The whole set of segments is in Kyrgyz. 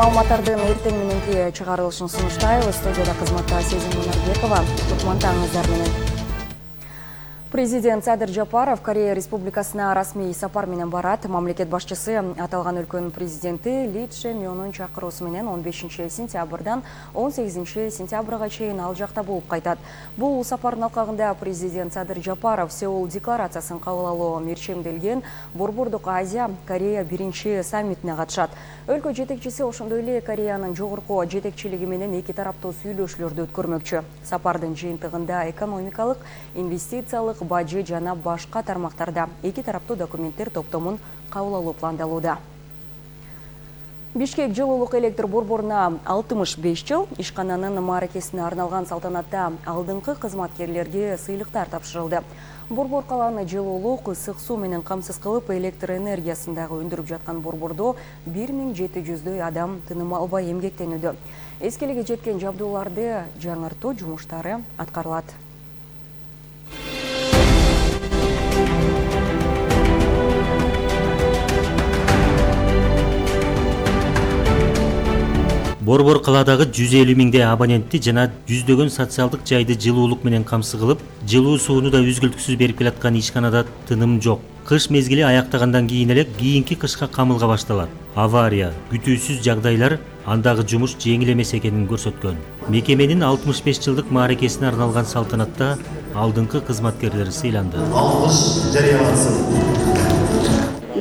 маалыматтардын эртең мененки чыгарылышын сунуштайбыз. Студияда кызматта Сезим Мунарбекова. Кутмантаңыздар менен. Президент Садыр Жапаров Корея Республикасына расмий сапар менен барат. Мамлекет башчысы аталган өлкөнүн президенти Ли Чжэ Мёнун чакыруусу менен 15 сентябрдан 18 сентябрга чейин ал жакта болуп кайтат. Бул сапардын алкагында президент Садыр Жапаров Сеул декларациясын кабыл алуу мерчемделген Борбордук Азия Корея биринчи саммитине катышат. Өлкө жетекчиси ошондой эле Кореянын жогорку жетекчилиги менен эки тараптуу сүйлөшүүлөрдү өткөрмөкчү. Сапардын жыйынтыгында экономикалык, инвестициялык, бажы жана башка тармактарда эки тараптуу документтер топтомун кабыл алуу пландалууда. Бишкек жылуулук электр борборуна 65 жыл ишкананын мааракесине арналган салтанатта алдыңкы кызматкерлерге сыйлыктар тапшырылды. Борбор каланы жылуулук, ысык суу менен камсыз кылып, электр энергиясын дагы өндүрүп жаткан борбордо 1700дөй адам тыным албай эмгектенүүдө. Эскелиге жеткен жабдууларды жаңыртуу жумуштары аткарылат. Борбор каладагы 150 миңдей абонентти жана жүздөгөн социалдык жайды жылуулук менен камсыз кылып, жылуу сууну да үзгүлтүксүз берип келаткан ишканада тыным жок. Кыш мезгили аяктагандан кийин эле кийинки кышка камылга башталат. Авария, күтүүсүз жагдайлар андагы жумуш жеңил эмес экенин көрсөткөн. Мекеменин 65 жылдык мааракесине арналган салтанатта алдыңкы кызматкерлери сыйланды.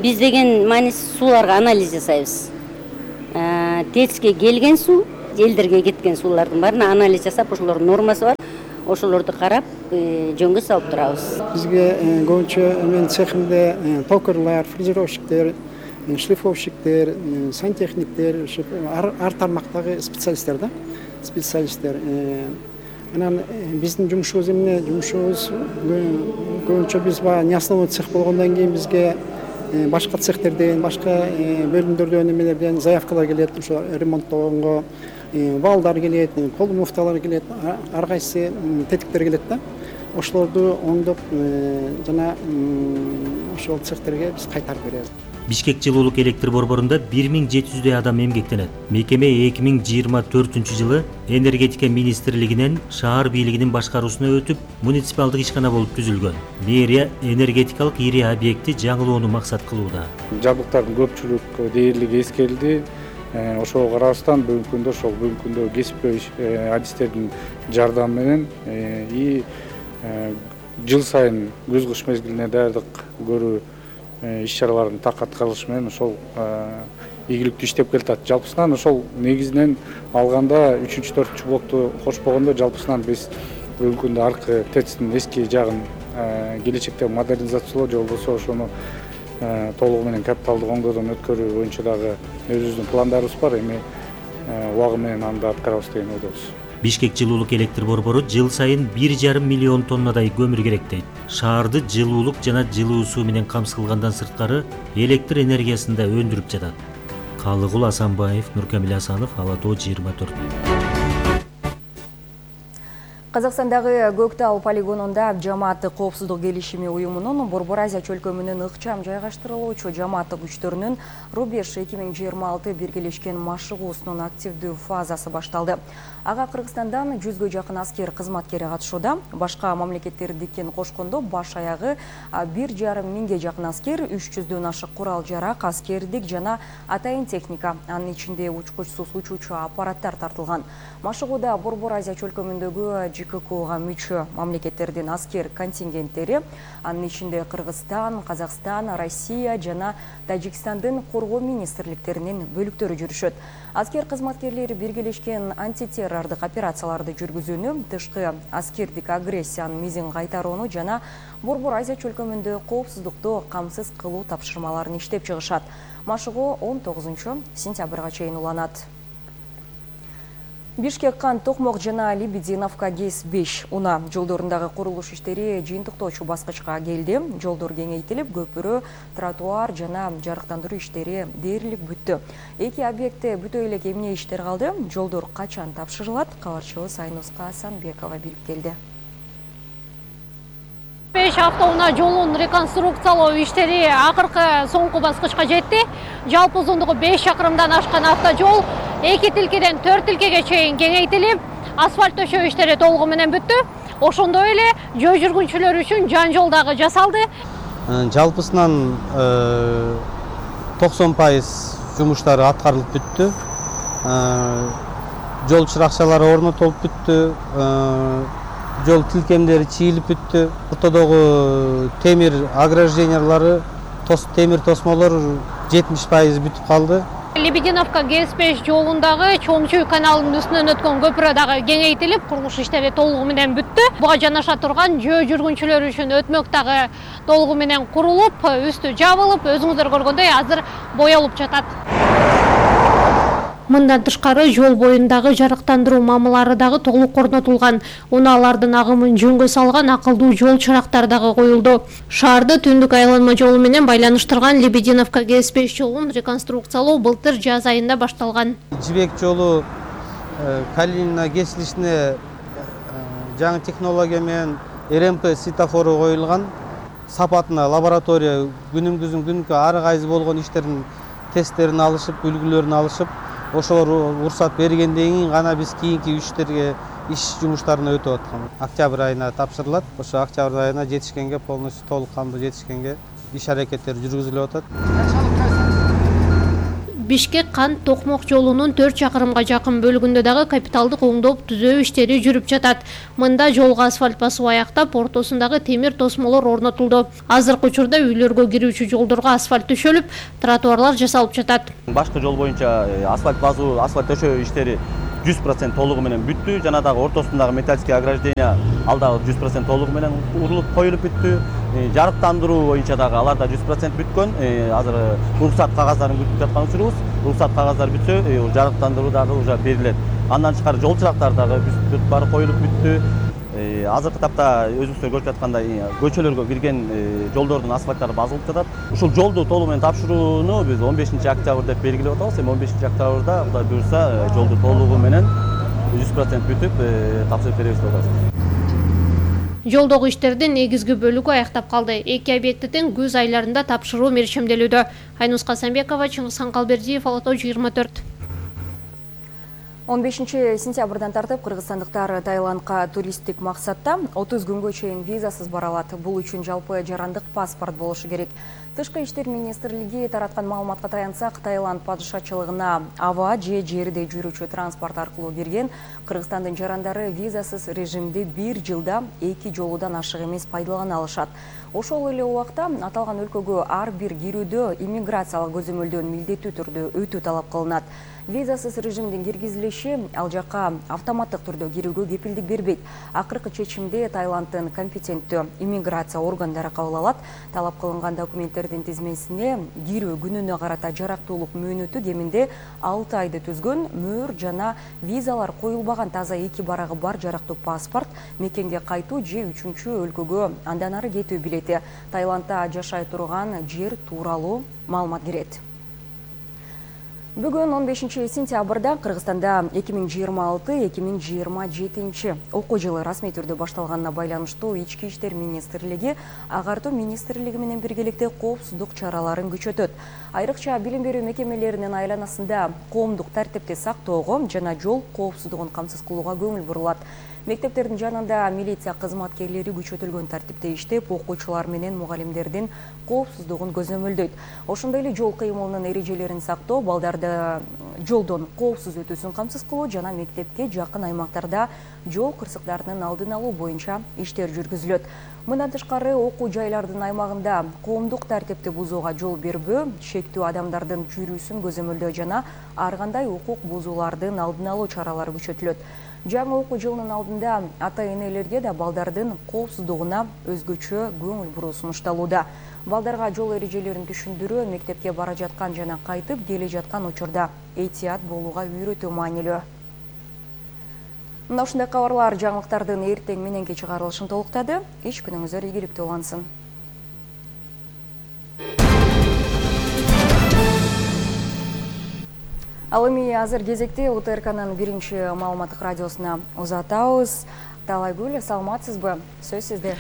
Биз деген маанисиз сууларга анализ жасайбыз. ТЭЦке келген суу, элдерге кеткен суулардын баарына анализ жасап, ошолордун нормасы бар, ошолорду карап, жөнгө салып турабыз. Бизге көбүнчө мен цехимде токарлар, фрезеровщиктер, шлифовщиктер, сантехниктер, ар тармактагы специалисттер да, специалисттер. Анан биздин жумушубуз эмне? Жумушубуз көбүнчө биз не основной цех болгондон кийин бизге башка цехтерден, башка бөлүмдөрдөн эмелерден заявкалар келет, ошо ремонттогонго валдар келет, кол муфталар келет, ар кайсы тетиктер келет да. Ошолорду оңдоп жана ошол цехтерге биз кайтарып беребиз. Бишкек жылуулук электр борборунда 1700дөй адам эмгектенет. Мекеме 2024 жылы энергетика министрлигинен шаар бийлигинин башкаруусуна өтүп, муниципалдык ишкана болуп түзүлгөн. Мэрия энергетикалык ири объекти жаңылоону максат кылууда. Жабдыктардын көпчүлүк дээрлиги эскерилди. Ошого карабастан бүгүнкү күндө кесипкөй адистердин жардамы менен жыл сайын күз-кыш мезгилине даярдык көрүү иш-чараларын так аткарылышы менен ошол ийгиликтүү иштеп келатат. Жалпысынан ошол негизинен алганда 3-4 блокту кошпогондо жалпысынан биз бүгүнкү күндө аркы ТЭЦтин эски жагын келечекте модернизациялоо же болбосо ошону толугу менен капиталдык оңдоодон өткөрүү боюнча дагы өзүбүздүн пландарыбыз бар. Эми убагы менен аны да аткарабыз деген ойдобуз. Бишкек жылуулук электр борбору жыл сайын 1,5 миллион тоннадай көмүр керектейт. Шаарды жылуулук жана жылуу суу менен камсыз кылгандан сырткары электр энергиясын да өндүрүп жатат. Калыгул Асанбаев, Нуркамил Асанов, Ала Тоо 24. Казакстандагы Көктал полигонунда жамааттык коопсуздук келишими уюмунун Борбор Азия чөлкөмүнүн ыкчам жайгаштырылуучу жамааттык күчтөрүнүн Рубеж 2026 биргелешкен машыгуусунун активдүү фазасы башталды. Ага Кыргызстандан 100гө жакын аскер кызматкери катышууда. Башка мамлекеттердикин кошкондо баш аягы 1,5 миңге жакын аскер, 300дөн ашык курал-жарак, аскердик жана атайын техника, анын ичинде учкучсуз учуучу аппараттар тартылган. Машыгууда Борбор Азия чөлкөмүндөгү ЖККга мүчө мамлекеттердин аскер контингенттери, анын ичинде Кыргызстан, Казакстан, Россия жана Тажикстандын коргоо министрликтеринин бөлүктөрү жүрүшөт. Аскер кызматкерлери биргелешкен антитеррордук операцияларды жүргүзүүнү, тышкы аскердик агрессиянын мизин кайтарууну жана Борбор Азия чөлкөмүндө коопсуздукту камсыз кылуу тапшырмаларын иштеп чыгышат. Машыгуу 19 сентябрга чейин уланат. Бишкек Кант Токмок жана Лебединовка ГЭС 5 уна жолдорундагы курулуш иштери жыйынтыктоочу баскычка келди. Жолдор кеңейтилип, көпүрө, тротуар жана жарыктандыруу иштери дээрлик бүттү. Эки объектте бүтө элек эмне иштер калды? Жолдор качан тапшырылат? Кабарчыбыз Айнуска Асанбекова билип келди. 5 автоунаа жолун реконструкциялоо иштери акыркы соңку баскычка жетти. Жалпы узундугу 5 чакырымдан ашкан автожол 2 тилкеден 4 тилкеге чейин кеңейтилип, асфальт төшөө иштери толугу менен бүттү. Ошондой эле жөө жүргүнчүлөр үчүн жан жол дагы жасалды. Жалпысынан 90% жумуштары аткарылып бүттү. Жол чыракчалары орнотулуп бүттү. Жол тилкемдери чийилип бүттү. Ортодогу темир ограждениялары, темир тосмолор 70% бүтүп калды. Лебединовка ГЭС-5 жолундагы Чоңчуй каналынын үстүнөн өткөн көпүрө дагы кеңейтилип, курулуш иштери толугу менен бүттү. Буга жанаша турган жөө жүргүнчүлөр үчүн өтмөк дагы толугу менен курулуп, үстү жабылып, өзүңүздөр көргөндөй азыр боелуп жатат. Мындан тышкары жол боюндагы жарыктандыруу мамылары дагы толук орнотулган. Унаалардын агымын жөнгө салган акылдуу жол чырактары дагы коюлду. Шаарды түндүк айланма жолу менен байланыштырган Лебединовка ГЭС-5 жолун реконструкциялоо былтыр жаз айында башталган. Жибек жолу Калинина кесилишине жаңы технология менен РМП светофору коюлган. Сапатына лаборатория күнүмкө ары кайсы болгон иштердин тесттерин алышып, үлгүлөрүн алышып, ошолор уруксат бергенден кийин гана биз кийинки иш жумуштарына өтүп аткан. Октябрь айына тапшырылат. Ошо октябрь айына жетишкенге, полностью толук кандуу жетишкенге иш аракеттер жүргүзүлүп атат. Бишкек-Кант Токмок жолунун 4 чакырымга жакын бөлүгүндө дагы капиталдык оңдоп түзөө иштери жүрүп жатат. Мында жолго асфальт басуу аяктап, ортосундагы темир тосмолор орнотулду. Азыркы учурда үйлөргө кирүүчү жолдорго асфальт төшөлүп, тротуарлар жасалып жатат. Башкы жол боюнча асфальт басуу, асфальт төшөө иштери 100% толугу менен бүттү. Жана дагы ортосундагы металлический ограждение ал дагы 100% толугу менен урулуп коюлуп бүттү. Жарыктандыруу боюнча дагы алар да 100% бүткөн. Азыр уруксат кагаздарын күтүп жаткан учурубуз. Уруксат кагаздары бүтсө, жарыктандыруу дагы уже берилет. Андан тышкары жол чырактары дагы бүт баары коюлуп бүттү. Азыркы тапта өзүңүздөр көрүп жаткандай көчөлөргө кирген жолдордун асфальттары базылып жатат. Ушул жолду толугу менен тапшырууну биз 15-октябрь деп белгилеп атабыз. 15-октябрда Кудай буйрса жолду толугу менен 100% бүтүп тапшырып беребиз деп атабыз. Жолдогу иштердин негизги бөлүгү аяктап калды. 2 объектидин күз айларында тапшыруу мерчемделүүдө. Айнус Касанбекова, Чыңгызхан Калбердиев, Ала-Тоо 24. 15-сентябрдан тартып кыргызстандыктар Таиландка туристтик максатта 30 күнгө чейин визасыз бара алат. Бул үчүн жалпы жарандык паспорт болушу керек. Тышкы иштер министрлиги тараткан маалыматка таянсак, Таиланд падышачылыгына аба же жерде жүрүүчү транспорт аркылуу кирген Кыргызстандын жарандары визасыз режимди 1 жылда 2 жолудан ашык эмес пайдалана алышат. Ошол эле убакта аталган өлкөгө ар бир кирүүдө иммиграциялык көзөмөлдөн милдеттүү түрдө өтүү талап кылынат. Визасыз режимдин киргизилиши ал жакка автоматтык түрдө кирүүгө кепилдик бербейт. Акыркы чечимди Таиланддын компетенттүү иммиграция органдары кабыл алат. Талап кылынган документтердин тизмесине кирүү күнүнө карата жарактуулук мөөнөтү кеминде 6 айды түзгөн мөр жана визалар коюлбаган таза 2 барагы бар жарактуу паспорт, мекенге кайтуу же 3-чү өлкөгө андан ары кетүү билети, Таиландда жашай турган жер тууралуу маалымат кирет. Бүгүн 15-сентябрда Кыргызстанда 2026-2027 окуу жылы расмий түрдө башталганына байланыштуу Ички иштер министрлиги агартуу министрлиги менен биргеликте коопсуздук чараларын күчөтөт. Айрыкча билим берүү мекемелеринин айланасында коомдук тартипти сактоого жана жол коопсуздугун камсыз кылууга көңүл бурулат. Мектептердин жанында милиция кызматкерлери күчөтүлгөн тартипте иштеп, окуучулар менен мугалимдердин коопсуздугун көзөмөлдөйт. Ошондой эле жол кыймылынын эрежелерин сактоо, балдарды жолдон коопсуз өтүүсүн камсыз кылуу жана мектепке жакын аймактарда жол кырсыктарынын алдын алуу боюнча иштер жүргүзүлөт. Мындан тышкары окуу жайлардын аймагында коомдук тартипти бузууга жол бербөө, шектүү адамдардын жүрүүсүн көзөмөлдөө жана ар кандай укук бузуулардын алдын алуу чаралары күчөтүлөт. Жаңы окуу жылынын алдында ата-энелерге да балдардын коопсуздугуна өзгөчө көңүл буруу сунушталууда. Балдарга жол эрежелерин түшүндүрүү, мектепке бара жаткан жана кайтып келе жаткан учурда этият болууга үйрөтүү маанилүү. Мына ушундай кабарлар жаңылыктардын эртең мененки чыгарылышын толуктады. Иш күнүңүздөр ийгиликтүү улансын. Ал эми азыр кезекте УТРКнын биринчи маалыматтык радиосуна узатабыз. Талайгүл, саламатсызбы? Сөз сизде.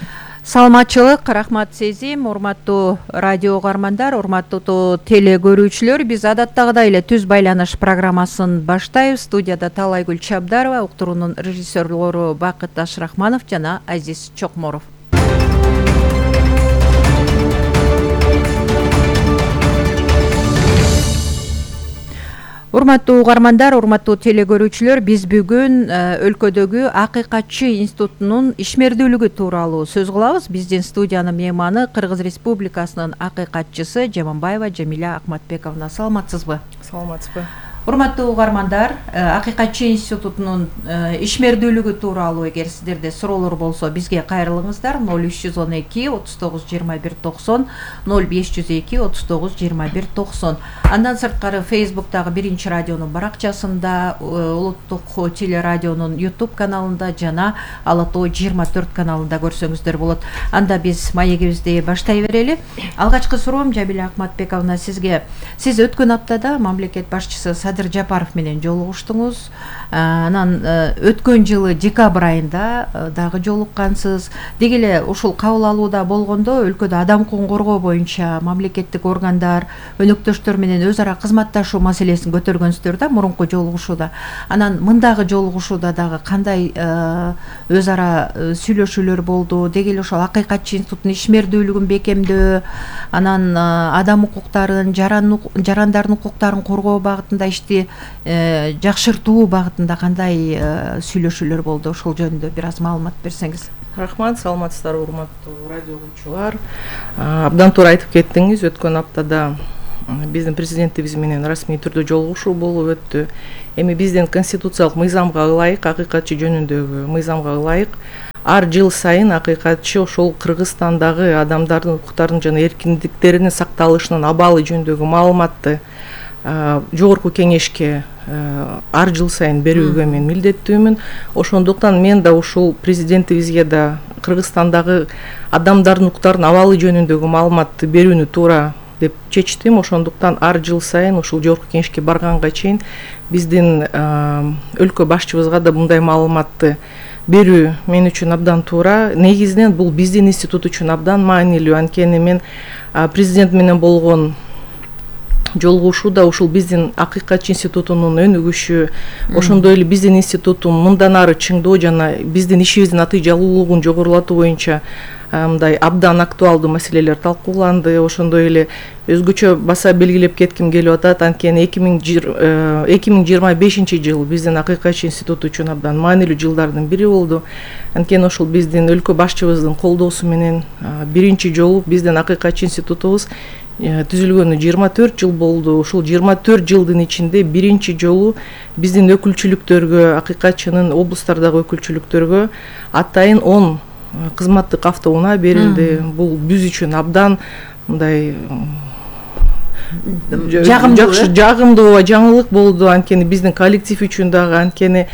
Саламатчылык, рахмат сезим, урматтуу радио угармандар, урматтуу теле көрүүчүлөр. Биз адаттагыдай эле түз байланыш программасын баштайбыз. Студияда Талайгүл Чабдарова, уктуруунун режиссерлору Бакыт Ашрахманов жана Азиз Чокморов. Урматтуу угармандар, урматтуу теле көрүүчүлөр, биз бүгүн өлкөдөгү Акыйкатчы институтунун ишмердүүлүгү тууралуу сөз кылабыз. Биздин студиянын мейманы Кыргыз Республикасынын акыйкатчысы Жаманбаева Жамиля Акматбековна. Саламатсызбы? Саламатсызбы. Урматтуу угармандар, Акыйкатчы институтунун ишмердүүлүгү тууралуу эгер сиздерде суроолор болсо бизге кайрылыңыздар. 0312 39 21 90 0502 39 21 90. Андан сырткары Facebooktагы Биринчи радионун баракчасында, улуттук телерадионун YouTube каналында жана Ала Тоо 24 каналында көрсөңүздөр болот. Анда биз маегибизди баштай берели. Алгачкы суроом Жамиля Акматбековна сизге. Сиз өткөн аптада мамлекет башчысы Садыр Жапаров менен жолугуштуңуз. Анан өткөн жылы декабрь айында дагы жолуккансыз. Деги эле ушул кабыл алууда болгондо өлкөдө адам укугун коргоо боюнча мамлекеттик органдар, өнөктөштөр менен өз ара кызматташуу маселесин көтөргөнсүздөр да мурунку жолугушууда. Анан мындагы жолугушууда дагы кандай өз ара сүйлөшүүлөр болду? Деги эле ошол Акыйкатчы институтунун ишмердүүлүгүн бекемдөө, анан адам укуктарын, жарандардын укуктарын коргоо багытында ишти жакшыртуу багытында кандай сүйлөшүүлөр болду? Ошол жөнүндө бир аз маалымат берсеңиз. Рахмат, саламатсыздарбы урматтуу радио угуучулар. Абдан туура айтып кеттиңиз. Өткөн аптада биздин президентибиз менен расмий түрдө жолугушуу болуп өттү. Эми биздин конституциялык мыйзамга ылайык, акыйкатчы жөнүндөгү мыйзамга ылайык ар жыл сайын акыйкатчы ошол Кыргызстандагы адамдардын укуктарынын жана эркиндиктеринин сакталышынын абалы жөнүндөгү маалыматты жогорку кеңешке ар жыл сайын берүүгө мен милдеттүүмүн. Ошондуктан мен да ушул президентибизге да Кыргызстандагы адамдардын укуктарынын абалы жөнүндөгү маалыматты берүүнү туура деп чечтим. Ошондуктан ар жыл сайын ушул жогорку кеңешке барганга чейин биздин өлкө башчыбызга да мындай маалыматты берүү мен үчүн абдан туура. Негизинен бул биздин институт үчүн абдан маанилүү. Анткени мен президент менен болгон жолугушууда ушул биздин Акыйкатчы институтунун өнүгүшү, ошондой эле биздин институттун мындан ары чыңдоо жана биздин ишибиздин натыйжалуулугун жогорулатуу боюнча мындай абдан актуалдуу маселелер талкууланды. Ошондой эле өзгөчө баса белгилеп кетким келип атат. Анткени 2025 жыл биздин Акыйкатчы институту үчүн абдан маанилүү жылдардын бири болду. Анткени ошол биздин өлкө башчыбыздын колдоосу менен биринчи жолу биздин Акыйкатчы институтубуз түзүлгөнү 24 жыл болду. Ушул 24 жылдын ичинде биринчи жолу биздин өкүлчүлүктөргө, акыйкатчынын облустардагы өкүлчүлүктөргө атайын 10 кызматтык автоунаа берилди. Бул биз үчүн абдан мындай жагымдуу жаңылык болду. Анткени биздин коллектив үчүн дагы, анткени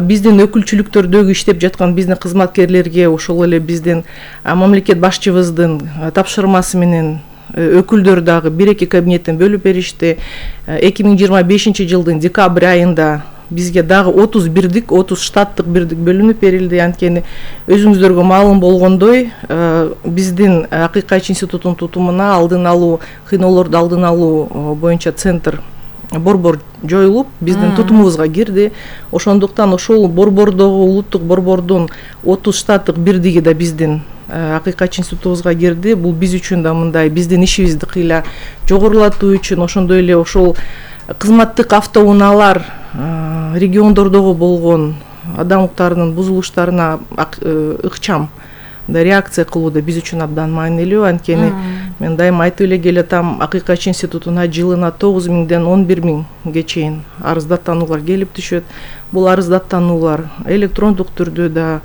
биздин өкүлчүлүктөрдөгү иштеп жаткан биздин кызматкерлерге ошол эле биздин мамлекет башчыбыздын тапшырмасы менен өкүлдөр дагы 1-2 кабинеттен бөлүп беришти. 2025 жылдын декабрь айында бизге дагы 30 штаттык бирдик бөлүнүп берилди. Анткени өзүңүздөргө маалым болгондой, биздин Акыйкатчы институтунун тутумуна алдын алуу, кыйноолорду алдын алуу боюнча центр борбор жоюлуп, биздин тутумубузга кирди. Ошондуктан ошол борбордогу, улуттук борбордун 30 штаттык бирдиги да биздин Акыйкатчы институтубузга кирди. Бул биз үчүн да мындай биздин ишибизди кыйла жогорулатуу үчүн, ошондой эле ошол кызматтык автоунаалар региондордогу болгон адам укуктарынын бузулуштарына ыкчам реакция кылууда биз үчүн абдан маанилүү. Анткени мен дайыма айтып эле келатам, Акыйкатчы институтуна жылына 9000ден 11000ге чейин арыздаттануулар келип түшөт. Бул арыздаттануулар электрондук түрдө да,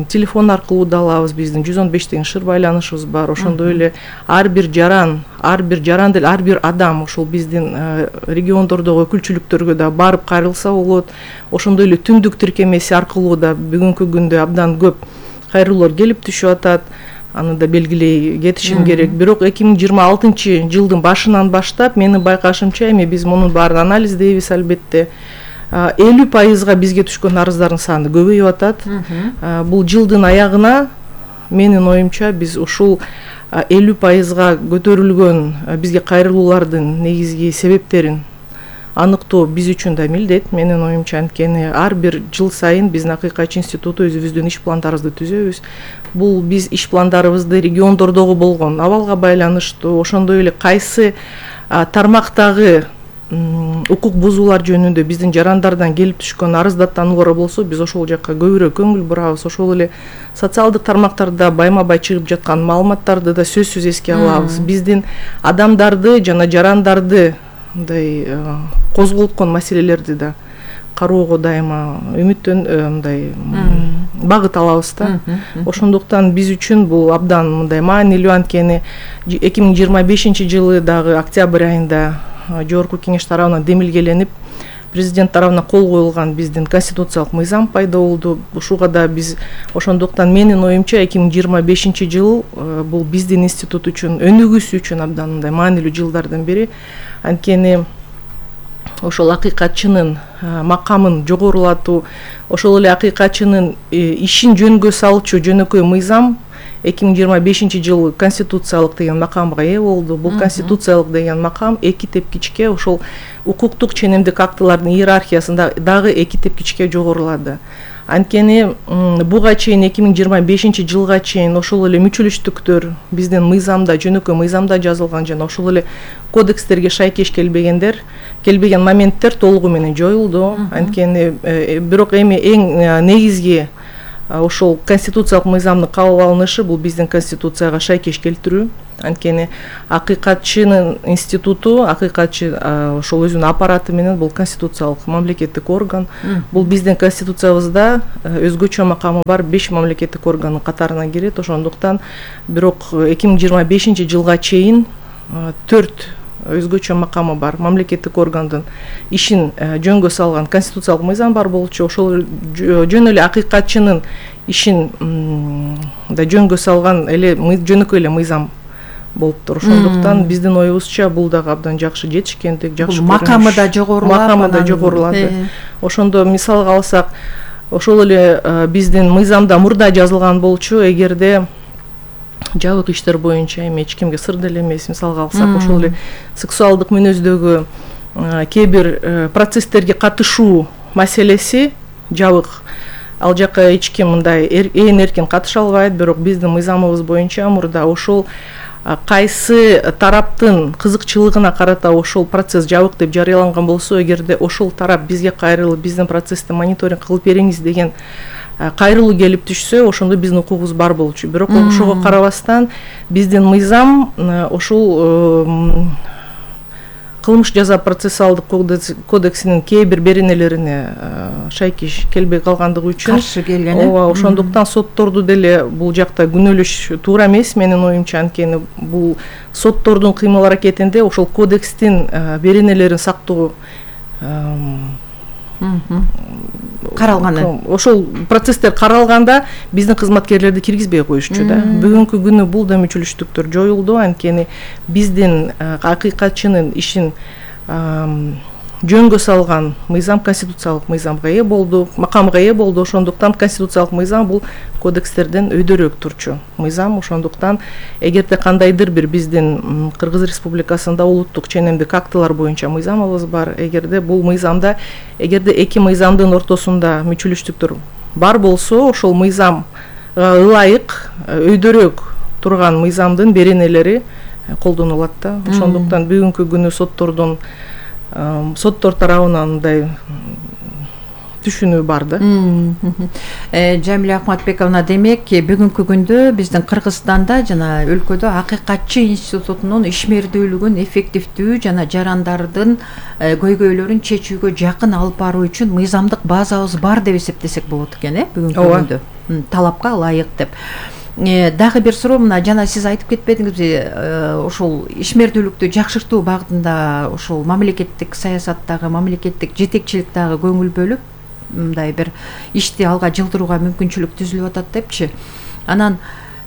телефон аркылуу да алабыз. Биздин 115 деген шыр байланышыбыз бар. Ошондой эле ар бир жаран деле ар бир адам ошол биздин региондордогу өкүлчүлүктөргө да барып кайрылса болот. Ошондой эле түндүк тиркемеси аркылуу да бүгүнкү күндө абдан көп кайрылуулар келип түшүп атат. Аны да белгилей кетишим керек. Бирок 2026 жылдын башынан баштап менин байкашымча, эми биз мунун баарын анализдейбиз албетте. 50% бизге түшкөн арыздардын саны көбөйүп атат. Бул жылдын аягына менин оюмча биз ушул 50%га көтөрүлгөн бизге кайрылуулардын негизги себептерин аныктоо биз үчүн да милдет. Менин оюмча, анткени ар бир жыл сайын биздин Акыйкатчы институту өзүбүздүн иш пландарыбызды түзөбүз. Бул биз иш пландарыбызды региондордогу болгон абалга байланыштуу, ошондой эле кайсы тармактагы укук бузуулар жөнүндө биздин жарандардан келип түшкөн арыздаттануулар болсо, биз ошол жакка көбүрөөк көңүл бурабыз. Ошол эле социалдык тармактарда байма бай чыгып жаткан маалыматтарды да сөзсүз эске алабыз. Биздин адамдарды жана жарандарды мындай козголткон маселелерди да кароого дайыма мындай багыт алабыз да. Ошондуктан биз үчүн бул абдан мындай маанилүү, анткени 2025 жылы дагы октябрь айында Жогорку кеңеш тарабынан демилгеленип, президент тарабынан кол коюлган биздин конституциялык мыйзам пайда болду. Ушуга да биз ошондуктан менин оюмча 2025 жыл бул биздин институт үчүн, өнүгүүсү үчүн абдан мындай маанилүү жылдардын бири. Анткени ошол акыйкатчынын макамын жогорулатуу, ошол эле акыйкатчынын ишин жөнгө салчу жөнөкөй мыйзам 2025 жылы конституциялык деген макамга ээ болду. Бул конституциялык деген макам эки тепкичке ошол укуктук ченемдик актылардын иерархиясында дагы эки тепкичке жогорулады. Анткени буга чейин 2025 жылга чейин ошол эле мүчөлүштүктөр биздин мыйзамда, жөнөкөй мыйзамда жазылган жана ошол эле кодекстерге шайкеш келбеген моменттер толугу менен жоюлду. Анткени бирок эми эң негизги ошол конституциялык мыйзамдын кабыл алынышы бул биздин конституцияга шайкеш келтирүү. Анткени акыйкатчынын институту, акыйкатчы ошол өзүнүн аппараты менен бул конституциялык мамлекеттик орган. Бул биздин конституциябызда өзгөчө макамы бар 5 мамлекеттик органдын катарына кирет. Ошондуктан бирок 2025 жылга чейин 4 өзгөчө макамы бар мамлекеттик органдын ишин жөнгө салган конституциялык мыйзам бар болчу. Ошол жөн эле акыйкатчынын ишин да жөнгө салган эле жөнөкөй эле мыйзам болуптур. Ошондуктан биздин оюбузча бул дагы абдан жакшы жетишкендик, жакшы макамы да жогорулады. Ошондо мисалга алсак, ошол эле биздин мыйзамда мурда жазылган болчу, эгерде жабык иштер боюнча эми эч кимге сыр деле эмес, мисалга алсак, ошол эле сексуалдык мүнөздөгү кээ бир процесстерге катышуу маселеси жабык. Ал жакка эч ким мындай ээн эркин катыша албайт, бирок биздин мыйзамыбыз боюнча мурда ошол кайсы тараптын кызыкчылыгына карата ошол процесс жабык деп жарыяланган болсо, эгерде ошол тарап бизге кайрылып биздин процессти мониторинг кылып бериңиз деген кайрылуу келип түшсө, ошондо биздин укугубуз бар болчу. Бирок ошого карабастан биздин мыйзам ошол кылмыш жаза процессуалдык кодексинин кээ бир беренелерине шайкеш келбей калгандыгы үчүн каршы келген. Ооба, ошондуктан сотторду деле бул жакта күнөөлөш туура эмес менин оюмча. Анткени бул соттордун кыймыл аракетинде ошол кодекстин беренелерин сактоо каралганы. Ошол процесстер каралганда биздин кызматкерлерди киргизбей коюшчу да. Бүгүнкү күнү бул да мүчөлүштүктөр жоюлду. Анткени биздин акыйкатчынын ишин жөнгө салган мыйзам конституциялык мыйзамга ээ болду, макамга ээ болду. Ошондуктан конституциялык мыйзам бул кодекстерден өйдөрөөк турчу мыйзам. Ошондуктан эгерде кандайдыр бир биздин Кыргыз Республикасында улуттук ченемдик актылар боюнча мыйзамыбыз бар, эгерде бул мыйзамда, эгерде эки мыйзамдын ортосунда мүчөлүштүктөр бар болсо, ошол мыйзамга ылайык өйдөрөөк турган мыйзамдын беренелери колдонулат да. Ошондуктан бүгүнкү күнү соттор тарабынан мындай түшүнүү бар да. Жамиля Акматбековна, демек бүгүнкү күндө биздин Кыргызстанда жана өлкөдө акыйкатчы институтунун ишмердүүлүгүн эффективдүү жана жарандардын көйгөйлөрүн чечүүгө жакын алып баруу үчүн мыйзамдык базабыз бар деп эсептесек болот экен, бүгүнкү күндө талапка ылайык деп. Дагы бир суроо, мына жана сиз айтып кетпедиңизби, ошол ишмердүүлүктү жакшыртуу багытында ошол мамлекеттик саясаттагы, мамлекеттик жетекчилик дагы көңүл бөлүп, мындай бир ишти алга жылдырууга мүмкүнчүлүк түзүлүп атат депчи. Анан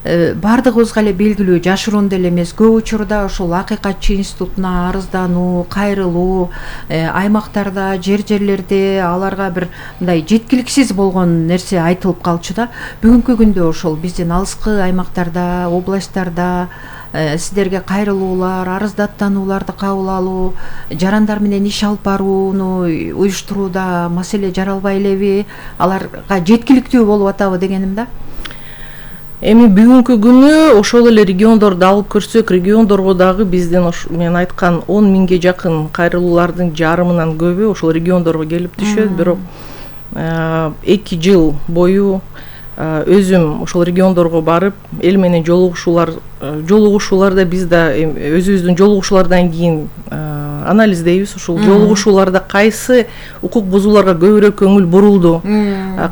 баардыгыбызга эле белгилүү, жашыруун деле эмес, көп учурда ушул Акыйкатчы институтуна арыздануу, кайрылуу, аймактарда, жерлерде аларга бир мындай жеткиликсиз болгон нерсе айтылып калчу да. Бүгүнкү күндө ошол биздин алыскы аймактарда, областтарда сиздерге кайрылуулар, арыздаттанууларды кабыл алуу, жарандар менен иш алып барууну уюштурууда маселе жаралбай элеби, аларга жеткиликтүү болуп атабы дегеним да. Эми бүгүнкү күнү ошол эле региондорду алып көрсөк, региондорго дагы биздин мен айткан 10 миңге жакын кайрылуулардын жарымынан көбү ошол региондорго келип түшөт. Бирок 2 жыл бою өзүм ошол региондорго барып, эл менен жолугушууларда биз да өзүбүздүн жолугушуулардан кийин анализдейбиз. Ушул жолугушууларда кайсы укук бузууларга көбүрөөк көңүл бурулду,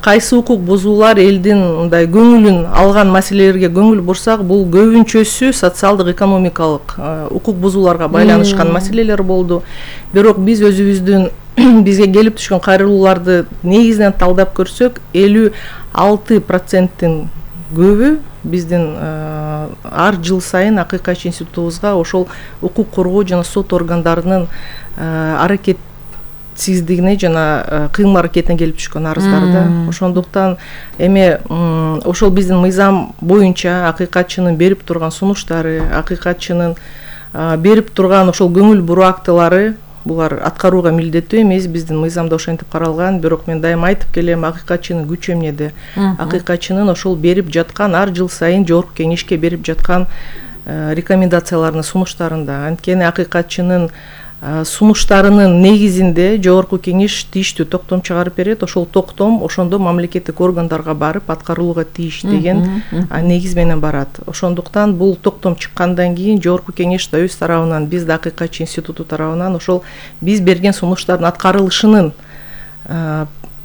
кайсы укук бузуулар элдин мындай көңүлүн алган маселелерге көңүл бурсак, бул көбүнчөсү социалдык экономикалык укук бузууларга байланышкан маселелер болду. Бирок биз өзүбүздүн бизге келип түшкөн кайрылууларды негизинен талдап көрсөк, 56%-тин көбү биздин ар жыл сайын Акыйкатчы институтубузга ошол укук коргоо жана сот органдарынын аракетсиздигине жана кыймыл аракетине келип түшкөн арыздарда. Ошондуктан эми ошол биздин мыйзам боюнча Акыйкатчынын берип турган сунуштары, Акыйкатчынын берип турган ошол көңүл буруу актылары, булар аткарууга милдеттүү эмес, биздин мыйзамда ошентип каралган. Бирок мен дайыма айтып келем, Акыйкатчынын күчү эмнеде? Акыйкатчынын ошол берип жаткан, ар жыл сайын жогорку кеңешке берип жаткан рекомендацияларынын, сунуштарында. Анткени Акыйкатчынын сунуштарынын негизинде жогорку кеңеш тийиштүү токтом чыгарып берет. Ошол токтом ошондо мамлекеттик органдарга барып аткарылууга тийиш деген негиз менен барат. Ошондуктан бул токтом чыккандан кийин жогорку кеңеш да өз тарабынан, биз да Акыйкатчы институту тарабынан ошол биз берген сунуштардын аткарылышынын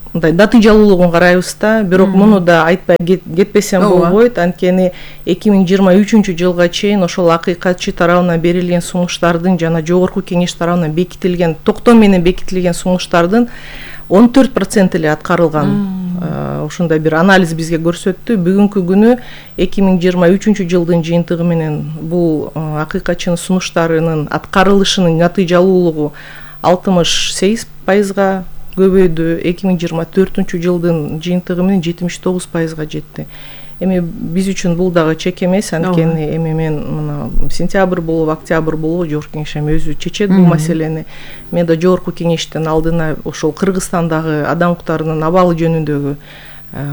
мындай натыйжалуулугун карайбыз да. Бирок муну да айтпай кетпесем болбойт. Анткени 2023 жылга чейин ошол Акыйкатчы тарабынан берилген сунуштардын жана жогорку кеңеш тарабынан бекитилген, токтом менен бекитилген сунуштардын 14% эле аткарылган. Ошондой бир анализ бизге көрсөттү. Бүгүнкү күнү 2023 жылдын жыйынтыгы менен бул Акыйкатчынын сунуштарынын аткарылышынын натыйжалуулугу 68%-га көбөйдү. 2024 жылдын жыйынтыгы менен 79%-га жетти. Эми биз үчүн бул дагы чек эмес, анткени эми мен мына сентябрь болуп, октябрь болуп жогорку кеңеш өзү чечет бул маселени. Мен да жогорку кеңештин алдына ошол Кыргызстандагы адам укуктарынын абалы жөнүндөгү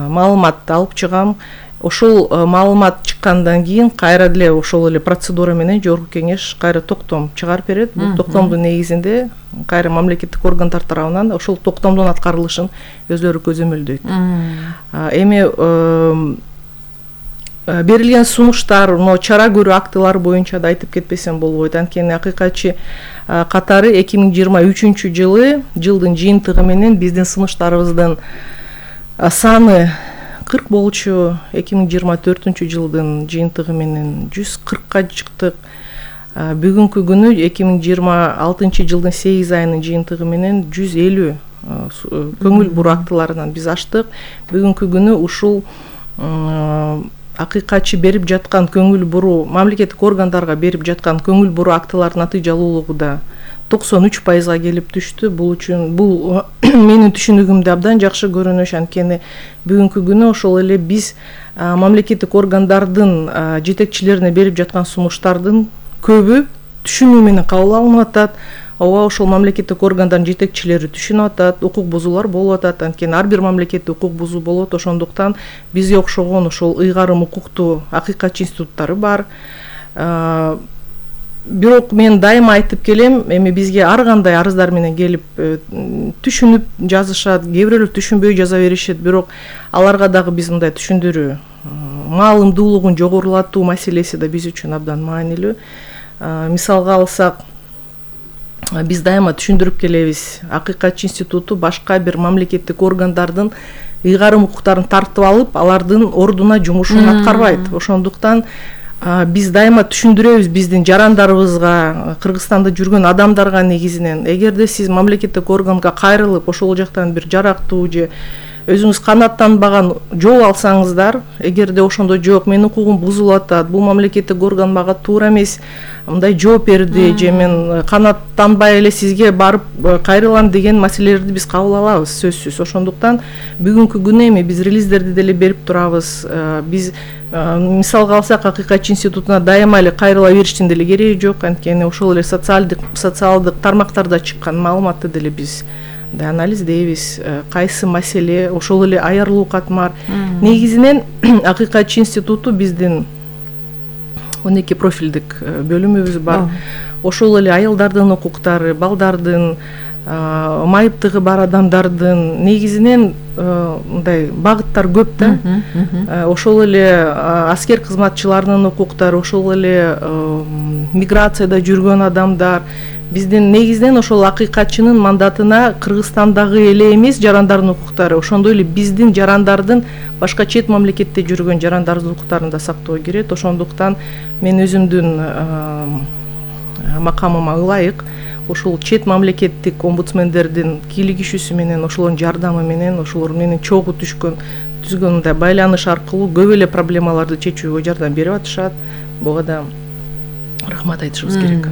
маалыматты алып чыгам. Ошол маалымат чыккандан кийин кайра деле ошол эле процедура менен жогорку кеңеш кайра токтом чыгарып берет. Бул токтомдун негизинде кайра мамлекеттик органдар тарабынан ошол токтомдун аткарылышын өзлөрү көзөмөлдөйт. Эми берилген сунуштар, чара көрүү актылары боюнча да айтып кетпесем болбойт. Анткени Акыйкатчы катары 2023 жылдын жыйынтыгы менен биздин сунуштарыбыздын саны 40 болчу. 2024 жылдын жыйынтыгы менен 140-ка чыктык. Бүгүнкү күнү 2026 жылдын 8 айынын жыйынтыгы менен 150 көңүл буруу актыларынан биз аштык. Бүгүнкү күнү ушул Акыйкатчы берип жаткан көңүл буруу, мамлекеттик органдарга берип жаткан көңүл буруу актылардын натыйжалуулугу да 93%-га келип түштү. Бул менин түшүнүгүмдө абдан жакшы көрүнүш. Анткени бүгүнкү күнү ошол эле биз мамлекеттик органдардын жетекчилерине берип жаткан сунуштардын көбү түшүнүү менен кабыл алынып атат. Ооба, ошол мамлекеттик органдардын жетекчилери түшүнүп атат, укук бузуулар болуп атат. Анткени ар бир мамлекетте укук бузуу болот. Ошондуктан бизге окшогон ошол ыйгарым укуктуу Акыйкатчы институттары бар. Бирок мен дайыма айтып келем, эми бизге ар кандай арыздар менен келип түшүнүп жазышат, кээ бирөөлөр түшүнбөй жаза беришет. Бирок аларга дагы биз мындай түшүндүрүү, маалымдуулугун жогорулатуу маселеси да биз үчүн абдан маанилүү. Мисалга алсак, биз дайыма түшүндүрүп келебиз. Акыйкатчы институту башка бир мамлекеттик органдардын ыйгарым укуктарын тартып алып, алардын ордуна жумушун аткарбайт. Ошондуктан биз дайыма түшүндүрөбүз биздин жарандарыбызга, Кыргызстанда жүргөн адамдарга негизинен. Эгерде сиз мамлекеттик органга кайрылып, ошол жактан бир жарактуу же өзүңүз канааттанбаган жол алсаңыздар, эгерде ошондо жок, менин укугум бузулуп атат, бул мамлекеттик орган мага туура эмес мындай жооп берди, же мен канааттанбай эле сизге барып кайрылам деген маселелерди биз кабыл алабыз, сөзсүз. Ошондуктан бүгүнкү күнү эми биз релиздерди деле берип турабыз. Биз мисалга алсак, Акыйкатчы институтуна дайыма эле кайрыла бериштин деле кереги жок, анткени ошол эле социалдык тармактарда чыккан маалыматты деле биз анализдейбиз. Кайсы маселе, ошол эле аярлуу катмар. Негизинен Акыйкатчы институту биздин 12 профилдик бөлүмүбүз бар. Ошол эле аялдардын укуктары, балдардын, майыптыгы бар адамдардын негизинен мындай багыттар көп да. Ошол эле аскер кызматчыларынын укуктары, ошол эле миграцияда жүргөн адамдар. Биздин негизинен ошол акыйкатчынын мандатына Кыргызстандагы эле эмес жарандардын укуктары, ошондой эле биздин жарандардын башка чет мамлекетте жүргөн жарандардын укуктарын да сактоо керек. Ошондуктан мен өзүмдүн макамыма ылайык ошол чет мамлекеттик омбудсмендердин кийлигишүүсү менен, ошолордун жардамы менен, ошолор менен чогуу түзгөн мындай байланыш аркылуу көп эле проблемаларды чечүүгө жардам берип атышат. Буга да рахмат айтышыбыз керек.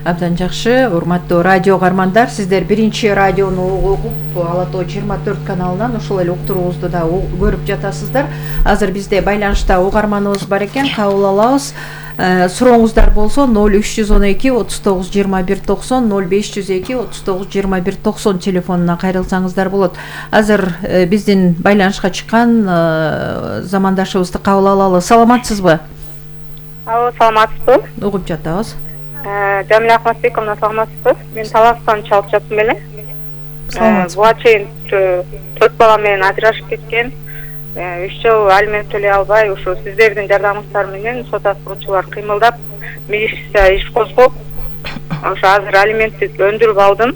Абдан жакшы. Урматтуу радио угармандар, сиздер биринчи радиону угуп, Ала Тоо 24 каналынан ошол эле уктуруубузду да көрүп жатасыздар. Азыр бизде байланышта угарманыбыз бар экен, кабыл алабыз. Сурооңуздар болсо 0312 39 21 90 0502 39 21 90 телефонуна кайрылсаңыздар болот. Азыр биздин байланышка чыккан замандашыбызды кабыл алалы. Саламатсызбы? Алло, саламатсызбы? Угуп жатабыз. Жамиля Ахматбековна, саламатсызбы? Мен Таластан чалып жаттым эле. Буга чейин 4 бала менен ажырашып кеткен. 3 жыл алимент төлөй албай, ошо сиздердин жардамыңыздар менен сот аткаруучулар кыймылдап, милиция иш козгоп, ошо азыр алиментти өндүрүп алдым.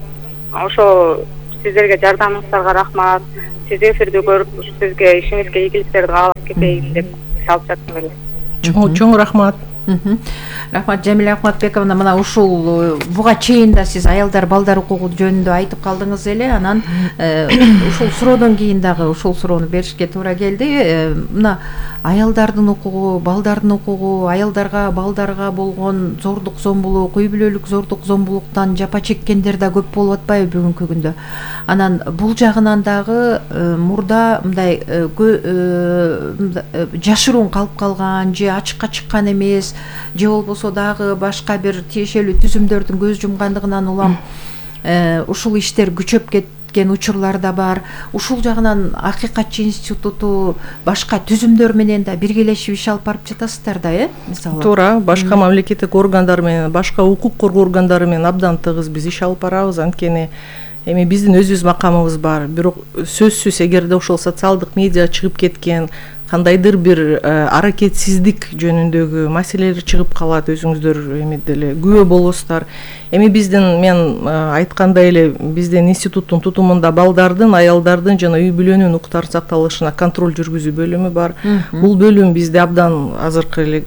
Ошо сиздерге жардамыңыздарга рахмат. Сиз эфирди көрүп, сизге ишиңизге ийгиликтерди каалап кетейин деп чалып жаттым эле. Чоң рахмат. Рахмат, Жамиля Ахматбековна. Мына ушул буга чейин да сиз аялдар балдар укугу жөнүндө айтып калдыңыз эле. Анан ушул суроодон кийин дагы ушул суроону беришке туура келди. Мына аялдардын укугу, балдардын укугу, аялдарга, балдарга болгон зордук зомбулук, үй бүлөлүк зордук зомбулуктан жапа чеккендер да көп болуп атпайбы бүгүнкү күндө? Анан бул жагынан дагы мурда мындай жашыруун калып калган же ачыкка чыккан эмес, же болбосо дагы башка бир тиешелүү түзүмдөрдүн көз жумгандыгынан улам ушул иштер күчөп кеткен учурлар да бар. Ушул жагынан Акыйкатчы институту башка түзүмдөр менен да биргелешип иш алып барып жатасыздар да, мисалы? Туура, башка мамлекеттик органдар менен, башка укук коргоо органдары менен абдан тыгыз биз иш алып барабыз. Анткени эми биздин өзүбүз макамыбыз бар. Бирок сөзсүз эгерде ошол социалдык медиа чыгып кеткен кандайдыр бир аракетсиздик жөнүндөгү маселелер чыгып калат, өзүңүздөр эми деле күбө болосуздар. Эми биздин, мен айткандай эле, биздин институттун тутумунда балдардын, аялдардын жана үй бүлөнүн укуктарын сакталышына контроль жүргүзүү бөлүмү бар. Бул бөлүм бизде абдан азыркы эле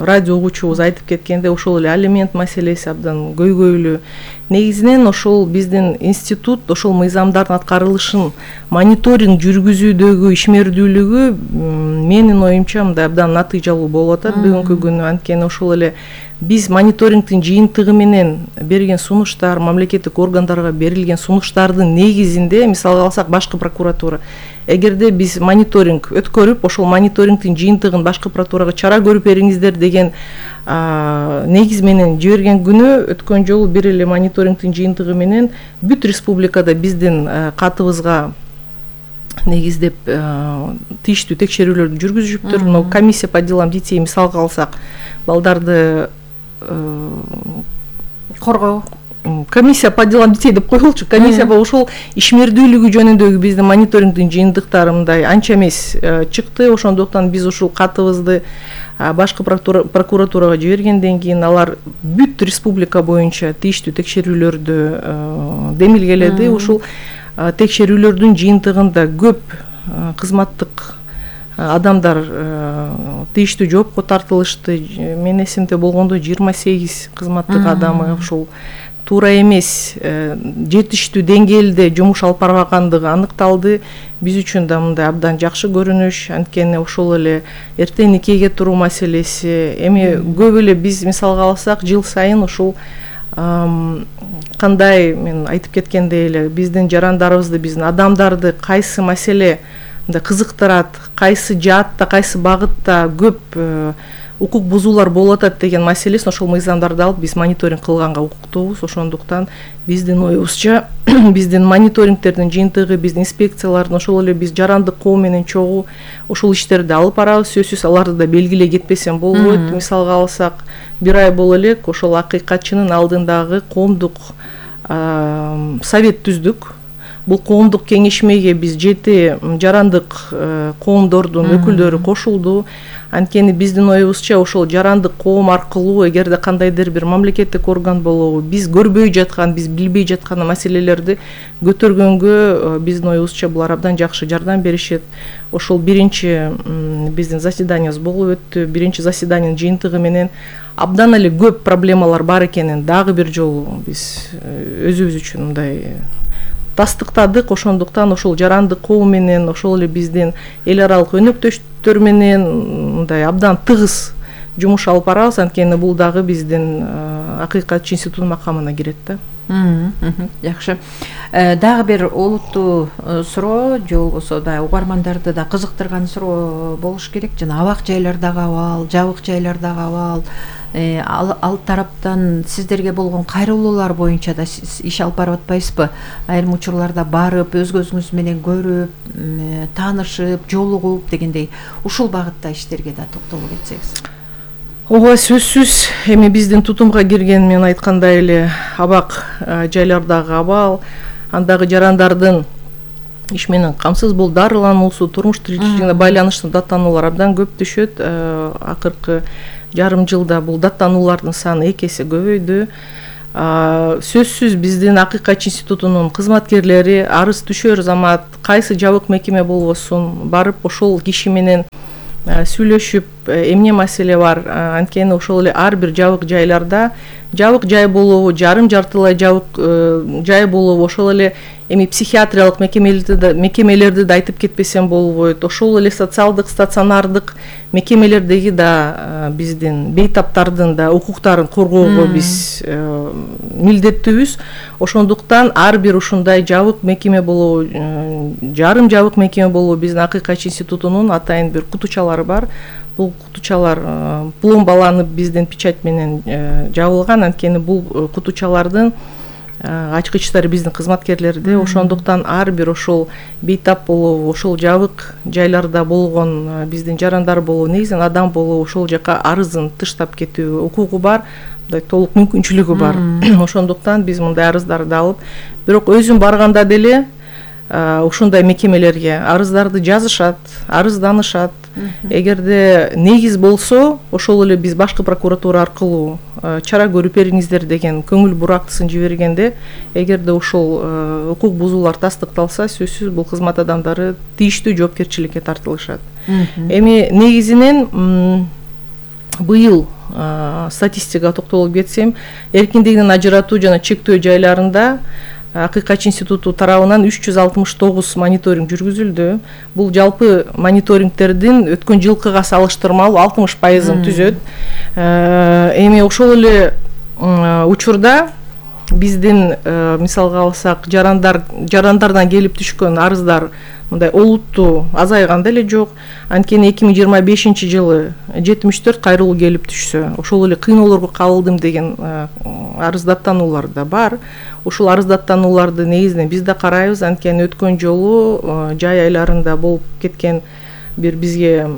радио угуучубуз айтып кеткенде, ошол эле алимент маселеси абдан көйгөйлүү. Негизинен ошол биздин институт ошол мыйзамдардын аткарылышын мониторинг жүргүзүүдөгү ишмердүүлүгү менин оюмча мындай абдан натыйжалуу болуп атат бүгүнкү күнү. Анткени ошол эле биз мониторингдин жыйынтыгы менен берген сунуштар, мамлекеттик органдарга берилген сунуштардын негизинде, мисалга алсак башкы прокуратура, эгерде биз мониторинг өткөрүп, ошол мониторингдин жыйынтыгын башкы прокуратурага чара көрүп бериңиздер деген негиз менен жиберген күнү, өткөн жолу бир эле мониторингдин жыйынтыгы менен бүт республикада биздин катыбызга негиздеп тийиштүү текшерүүлөрдү жүргүзүшүптүр. Но комиссия по делам детей мисалга алсак, балдарды коргоо комиссия по делам детей деп коелучу, комиссия ошол ишмердүүлүгү жөнүндөгү биздин мониторингдин жыйынтыктары мындай анча эмес чыкты. Ошондуктан биз ушул катыбызды башкы прокуратурага жибергенден кийин алар бүт республика боюнча тийиштүү текшерүүлөрдү демилгеледи. Ушул текшерүүлөрдүн жыйынтыгында көп кызматтык адамдар тийиштүү жоопко тартылышты. Мен эсимде болгондо 28 кызматтык адамы ушул туура эмес, жетиштүү деңгээлде жумуш алып барбагандыгы аныкталды. Биз үчүн да мындай абдан жакшы көрүнүш. Анткени ошол эле эртең никеге туруу маселеси, эми көп эле биз мисалга алсак, жыл сайын ушул кандай мен айтып кеткендей эле биздин жарандарыбызды, биздин адамдарды кайсы маселе кызыктырат, кайсы жаатта, кайсы багытта көп укук бузуулар болуп атат деген маселесин ошол мыйзамдарды алып биз мониторинг кылганга укуктуубуз. Ошондуктан биздин оюбузча биздин мониторингтердин жыйынтыгы, биздин инспекциялардын, ошол эле биз жарандык коом менен чогуу ошол иштерди алып барабыз. Сөзсүз аларды да белгилей кетпесем болбойт. Мисалга алсак, бир ай боло элек ошол акыйкатчынын алдындагы коомдук совет түздүк. Бул коомдук кеңешмеге биз 7 жарандык коомдордун өкүлдөрү кошулду. Анткени биздин оюбузча ошол жарандык коом аркылуу эгерде кандайдыр бир мамлекеттик орган болобу, биз көрбөй жаткан, биз билбей жаткан маселелерди көтөргөнгө биздин оюбузча булар абдан жакшы жардам беришет. Ошол биринчи биздин заседаниябыз болуп өттү. Биринчи заседаниянын жыйынтыгы менен абдан эле көп проблемалар бар экенин дагы бир жолу биз өзүбүз үчүн мындай тастыктадык. Ошондуктан ошол жарандык коом менен, ошол эле биздин эл аралык өнөктөштөр менен мындай абдан тыгыз жумуш алып барабыз. Анткени бул дагы биздин акыйкатчы институтунун макамына кирет да. Жакшы. Дагы бир олуттуу суроо, же болбосо да угармандарды да кызыктырган суроо болуш керек. Жана абак жайлардагы абал, жабык жайлардагы абал, ал тараптан сиздерге болгон кайрылуулар боюнча да иш алып барып атпайсызбы? Айрым учурларда барып, өз көзүңүз менен көрүп, таанышып, жолугуп дегендей ушул багытта иштерге да токтолуп кетсеңиз. Ооба, сөзсүз эми биздин тутумга кирген, мен айткандай эле абак жайлардагы абал, андагы жарандардын иш менен камсыз болуп дарылануусу, турмуш тиричилигине байланыштуу даттануулар абдан көп түшөт. Акыркы жарым жылда бул даттануулардын саны 2 эсе көбөйдү. Сөзсүз биздин акыйкатчы институтунун кызматкерлери арыз түшөр замат кайсы жабык мекеме болбосун барып ошол киши менен сүйлөшүп, эмне маселе бар. Анткени ошол эле ар бир жабык жайларда жабык жай болобу, жарым жартылай жабык жай болобу, ошол эле эми психиатриялык мекемелерди да айтып кетпесем болбойт. Ошол эле социалдык, стационардык мекемелердеги да биздин бейтаптардын да укуктарын коргоого биз милдеттүүбүз. Ошондуктан ар бир ушундай жабык мекеме болобу, жарым жабык мекеме болобу, биздин акыйкатчы институтунун атайын бир кутучалары бар. Бул кутучалар пломбаланып биздин печать менен жабылган. Анткени бул кутучалардын ачкычтары биздин кызматкерлерде. Ошондуктан ар бир ошол бейтап болобу, ошол жабык жайларда болгон биздин жарандар болобу, негизинен адам болобу, ошол жака арызын тыштап кетүү укугу бар, мындай толук мүмкүнчүлүгү бар. Ошондуктан биз мындай арыздарды алып, бирок өзүм барганда деле ушундай мекемелерге арыздарды жазышат, арызданышат. Эгерде негиз болсо, ошол эле биз башкы прокуратура аркылуу чара көрүп бериңиздер деген көңүл бурактысын жибергенде, эгерде ошол укук бузуулар тастыкталса, сөзсүз бул кызмат адамдары тийиштүү жоопкерчиликке тартылышат. Эми негизинен быйыл статистикага токтолуп кетсем, эркиндигинен ажыратуу жана чектөө жайларында Акыйкатчы институту тарабынан 369 мониторинг жүргүзүлдү. Бул жалпы мониторингтердин өткөн жылкыга салыштырмалуу 60%-ын түзөт. Эми ошол эле учурда биздин мисалга алсак жарандардан келип түшкөн арыздар мындай олуттуу азайган деле жок. Анткени 2025 жылы 74 кайрылуу келип түшсө, ошол эле кыйноолорго кабылдым деген арыздаттануулар да бар. Ушул арыздаттанууларды негизинен биз да карайбыз. Анткени өткөн жолу жай айларында болуп кеткен бизге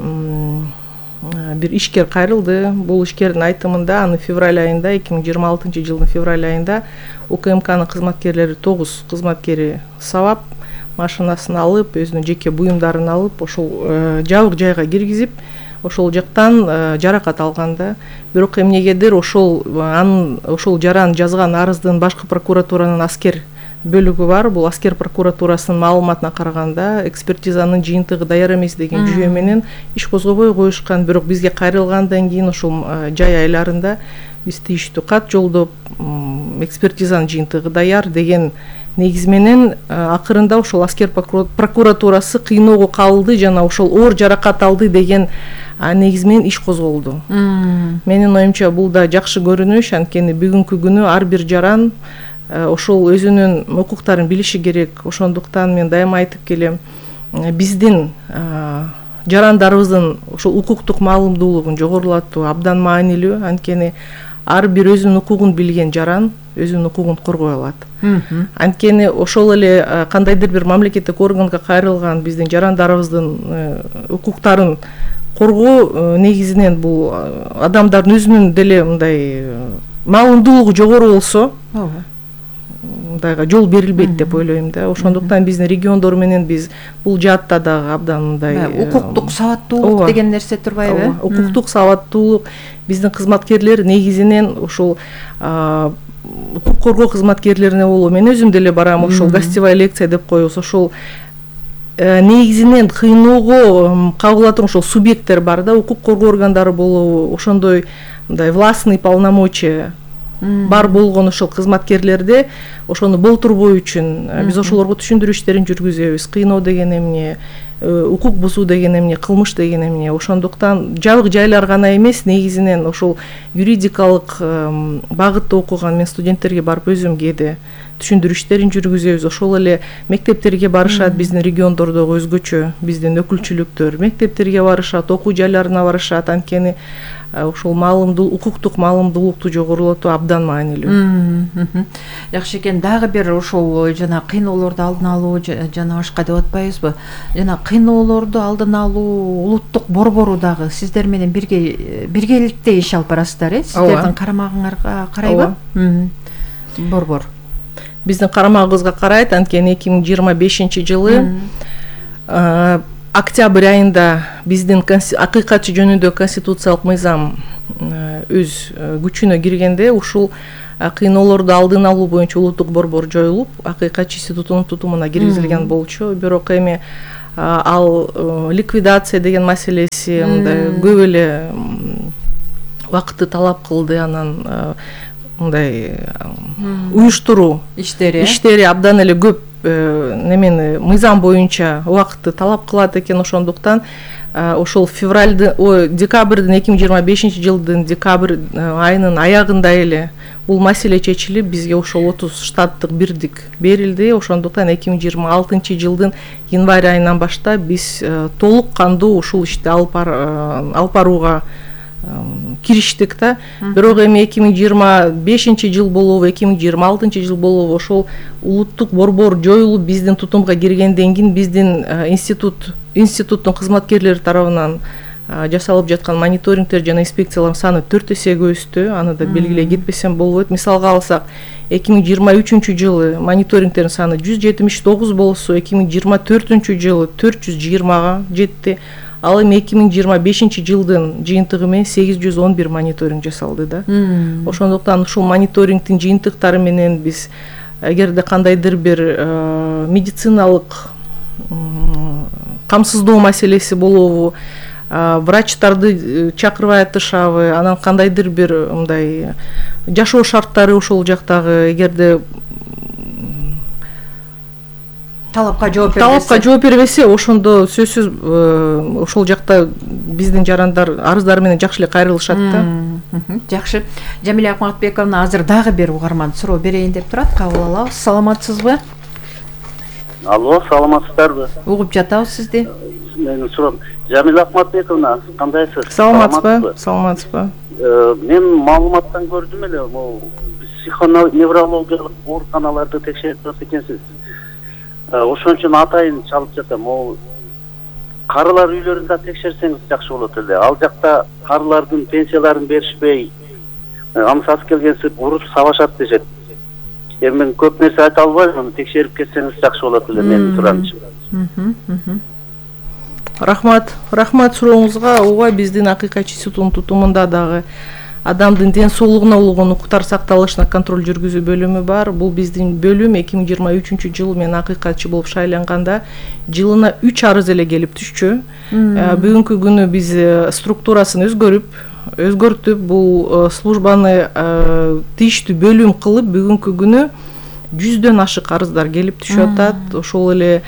бир ишкер кайрылды. Бул ишкердин айтымында аны февраль айында, 2026 жылдын февраль айында УКМКнын кызматкерлери 9 кызматкери сабап, машинасын алып, өзүнүн жеке буюмдарын алып, ошол жабык жайга киргизип, ошол жактан жаракат алганда. Бирок эмнегедир ошол жаран жазган арыздын башкы прокуратуранын аскер бөлүгү бар. Бул аскер прокуратурасынын маалыматына караганда экспертизанын жыйынтыгы даяр эмес деген жүйө менен иш козгобой коюшкан. Бирок бизге кайрылгандан кийин ошол жай айларында биз тийиштүү кат жолдоп экспертизанын жыйынтыгы даяр деген негиз менен акырында ошол аскер прокуратурасы кыйноого кабылды жана ошол оор жаракат алды деген негиз менен иш козголду. Менин оюмча бул да жакшы көрүнүш, анткени бүгүнкү күнү ар бир жаран ошол өзүнүн укуктарын билиши керек. Ошондуктан мен дайыма айтып келем, биздин жарандарыбыздын ошол укуктук маалымдуулугун жогорулатуу абдан маанилүү, анткени ар бир өзүнүн укугун билген жаран өзүнүн укугун коргой алат. Анткени ошол эле кандайдыр бир мамлекеттик органга кайрылган биздин жарандарыбыздын укуктарын коргоо негизинен бул адамдардын өзүнүн деле мындай маалымдуулугу жогору болсо мындайга жол берилбейт деп ойлойм да. Ошондуктан биздин региондор менен биз бул жаатта дагы абдан мындай укуктук сабаттуулук деген нерсе турбайбы? Укуктук сабаттуулук биздин кызматкерлер негизинен ошол укук коргоо кызматкерлерине болобу. Мен өзүм деле барам, ошол гостевая лекция деп коебуз. Ошол негизинен кыйноого кабыл алатын ошол субъекттер бар да, укук коргоо органдары болобу, ошондой мындай властный полномочия бар болгон ошол кызматкерлерде ошону болтурбоо үчүн биз ошолорго түшүндүрүү иштерин жүргүзөбүз. Кыйноо деген эмне, укук бузуу деген эмне, кылмыш деген эмне. Ошондуктан жабык жайлар гана эмес, негизинен ошол юридикалык багытта окуган мен студенттерге барып өзүм кээде түшүндүрүү иштерин жүргүзөбүз. Ошол эле мектептерге барышат, биздин региондордогу өзгөчө биздин өкүлчүлүктөр мектептерге барышат, окуу жайларына барышат, анткени ошол укуктук маалымдуулукту жогорулатуу абдан маанилүү. Жакшы экен. Дагы бир ошол жана кыйноолорду алдын алуу жана башка деп атпайбызбы? Жана кыйноолорду алдын алуу улуттук борбору дагы сиздер менен биргеликте иш алып барасыздар, сиздердин карамагыңарга карайбы? Борбор биздин карамагыбызга карайт, анткени 2025-жылы октябрь айында биздин акыйкатчы жөнүндө конституциялык мыйзам өз күчүнө киргенде ушул кыйноолорду алдын алуу боюнча улуттук борбор жоюлуп, акыйкатчы институтунун тутумуна киргизилген болчу. Бирок эми ал ликвидация деген маселеси мындай көп эле убакытты талап кылды, анан мындай уюштуруу иштери абдан эле көп немени мыйзам боюнча убакытты талап кылат экен. Ошондуктан ошол декабрдын 2025-жылдын декабрь айынын аягында эле бул маселе чечилип, бизге ошол 30 штаттык бирдик берилди. Ошондуктан 2026-жылдын январь айынан баштап биз толук кандуу ушул ишти алып барууга кириштик да. Бирок эми 2025-жыл болобу, 2026-жыл болобу ошол улуттук борбор жоюлуп биздин тутумга киргенден кийин биздин институттун кызматкерлери тарабынан жасалып жаткан мониторингтер жана инспекциялардын саны 4 эсеге өстү. Аны да белгилей кетпесем болбойт. Мисалга алсак, 2023-жылы мониторингтердин саны 179 болсо, 2024-жылы 420-га жетти. Ал эми 2025-жылдын жыйынтыгы менен 811 мониторинг жасалды да. Ошондуктан ушул мониторингдин жыйынтыктары менен биз эгерде кандайдыр бир медициналык камсыздоо маселеси болобу, врачтарды чакырбай атышабы, анан кандайдыр бир мындай жашоо шарттары ошол жактагы эгерде талапка жооп бербесе, ошондо сөзсүз ошол жакта биздин жарандар арыздары менен жакшы эле кайрылышат да. Жакшы. Жамиля Акматбековна азыр дагы бир угарман суроо берейин деп турат. Кабыл алабыз. Саламатсызбы? Алло, саламатсыздарбы? Угуп жатабыз сизди. Менин суроом, Жамиля Акматбековна, кандайсыз? Саламатсызбы? Мен маалыматтан көрдүм эле, могу психоневрологиялык ооруканаларды текшерип турат экенсиз. Ошон үчүн атайын чалып жатам. Могу карылар үйлөрүндө текшерсеңиз жакшы болот эле. Ал жакта карылардын пенсияларын беришпей, амсасы келгенсип уруп сабашат дешет. Эми мен көп нерсе айта албайм, аны текшерип кетсеңиз жакшы болот эле менин суранычым. Рахмат сурооңузга. Ооба, биздин акыйкатчы институтунун тутумунда дагы адамдын ден соолугуна болгон укуктар сакталышына контроль жүргүзүү бөлүмү бар. Бул биздин бөлүм 2023-жылы мен акыйкатчы болуп шайланганда жылына 3 арыз эле келип түшчү. Бүгүнкү күнү биз структурасын өзгөрүп, өзгөртүп бул службаны тийиштүү бөлүм кылып бүгүнкү күнү 100дөн ашык арыздар келип түшүп атат. Ошол эле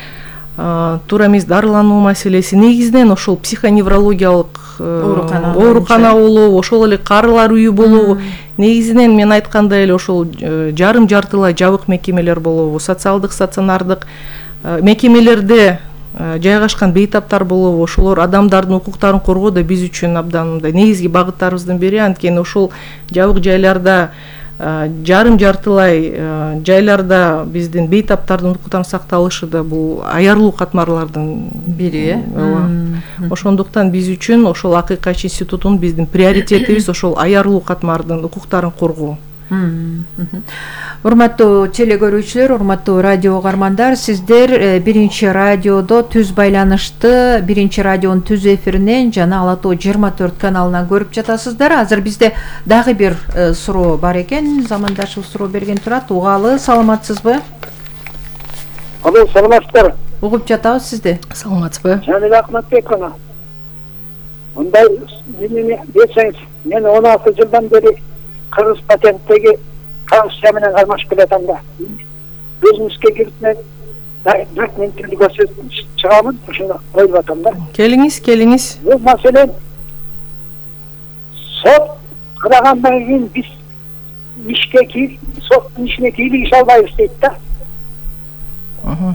туура эмес дарылануу маселеси, негизинен ошол психоневрологиялык оорукана болобу, ошол эле карылар үйү болобу, негизинен мен айткандай эле ошол жарым жартылай жабык мекемелер болобу, социалдык стационардык мекемелерде жайгашкан бейтаптар болобу, ошолор адамдардын укуктарын коргоодо биз үчүн абдан мындай негизги багыттарыбыздын бири. Анткени ошол жабык жайларда, жарым жартылай жайларда биздин бейтаптардын укуктарын сакталышы да бул аярлуу катмарлардын бири. Ошондуктан биз үчүн ошол Акыйкач институтунун биздин приоритетибиз ошол аярлуу катмардын укуктарын коргоо. Урматтуу теле көрүүчүлөр, урматтуу радио угармандар, сиздер биринчи радиодо түз байланышты, биринчи радионун түз эфиринен жана Ала Тоо 24 каналынан көрүп жатасыздар. Азыр бизде дагы бир суроо бар экен. Замандашыбыз суроо берген турат. Угалы, саламатсызбы? Алло, саламатсыздар. Угуп жатабыз сизди. Саламатсызбы? Жаныбек Акматбековна. Мындай эмне десеңиз, мен 16 жылдан бери Кыргыз патенттеги Конституция менен кармашып келатам да. Өзүмүзгө кирип мен документтерди көрсөтүп чыгамын, ошону коюп атам да. Келиңиз. Бул маселен сот кырагандан кийин биз ишке кирип, соттун ишине кийлигише албайбыз дейт да.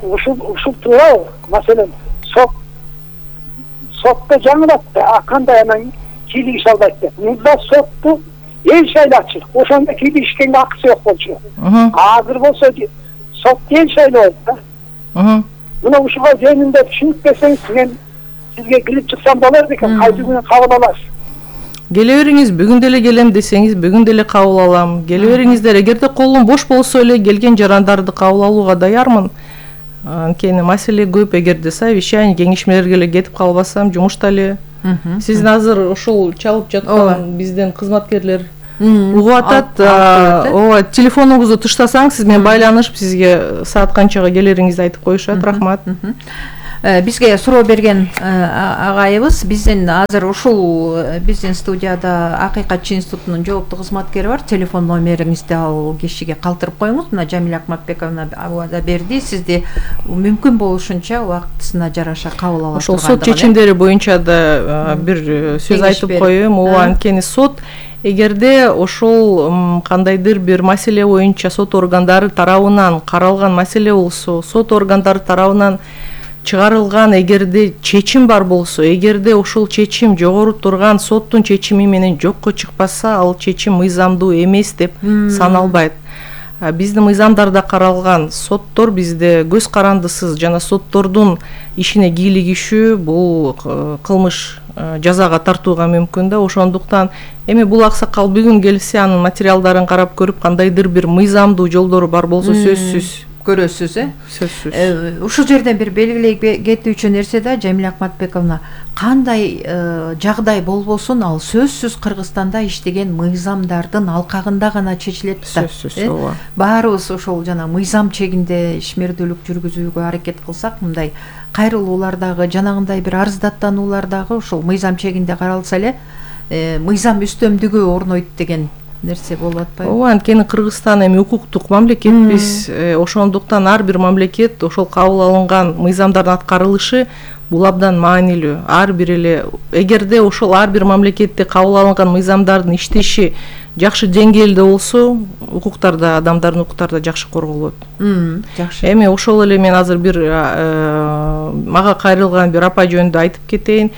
Ушул туурабы? Маселен сотто жаңылат да, кандай анан кийлигише албайт деп. Мында сотту эл шайлачы, ошондо кийлигишкенге акысы жок болчу. Азыр болсо сот эл шайлайт да. Мына ушуга жөнүндө түшүнүп берсеңиз, мен сизге кирип чыксам болор экен, кайсы күнү кабыл аласыз? Келе бериңиз, бүгүн деле келем десеңиз, бүгүн деле кабыл алам. Келе бериңиздер, эгерде колум бош болсо эле келген жарандарды кабыл алууга даярмын. Анткени маселе көп, эгерде совещание, кеңешмелерге эле кетип калбасам, жумушта эле. Сиздин азыр ошол чалып жаткан биздин кызматкерлер угуп атат. Ооба, телефонуңузду тыштасаңыз, сиз менен байланышып, сизге саат канчага келериңизди айтып коюшат. Рахмат. Бизге суроо берген агайыбыз, биздин азыр ушул биздин студияда Акыйкач институтунун жооптуу кызматкери бар. Телефон номериңизди ал кишиге калтырып коюңуз. Мына Жамиля Акматбековна абада берди. Сизди мүмкүн болушунча убактысына жараша кабыл ала турган. Ошол сот чечимдери боюнча да бир сөз айтып коеюм. Ооба, анткени сот эгерде ошол кандайдыр бир маселе боюнча сот органдары тарабынан каралган маселе болсо, сот органдары тарабынан чыгарылган эгерде чечим бар болсо, эгерде ошол чечим жогору турган соттун чечими менен жокко чыкпаса, ал чечим мыйзамдуу эмес деп саналбайт. Биздин мыйзамдарда каралган соттор бизде көз карандысыз жана соттордун ишине кийлигишүү бул кылмыш жазага тартууга мүмкүн да. Ошондуктан эми бул аксакал бүгүн келсе, анын материалдарын карап көрүп, кандайдыр бир мыйзамдуу жолдору бар болсо сөзсүз көрөсүз, сөзсүз. Ушул жерден бир белгилей кетүүчү нерсе да, Жамиля Акматбековна, кандай жагдай болбосун, ал сөзсүз Кыргызстанда иштеген мыйзамдардын алкагында гана чечилет да. Сөзсүз, ооба. Баарыбыз ошол жана мыйзам чегинде ишмердүүлүк жүргүзүүгө аракет кылсак, мындай кайрылуулардагы, жанагындай бир арыздаттануулардагы ошол мыйзам чегинде каралса эле, мыйзам үстөмдүгү орнойт деген нерсе болуп атпайбы? Ооба, анткени Кыргызстан эми укуктук мамлекетпиз. Ошондуктан ар бир мамлекет ошол кабыл алынган мыйзамдардын аткарылышы бул абдан маанилүү. Ар бир эле эгерде ошол ар бир мамлекетте кабыл алынган мыйзамдардын иштеши жакшы деңгээлде болсо, укуктарда, адамдардын укуктары да жакшы корголот. Жакшы. Эми ошол эле мен азыр бир мага кайрылган бир апа жөнүндө айтып кетейин.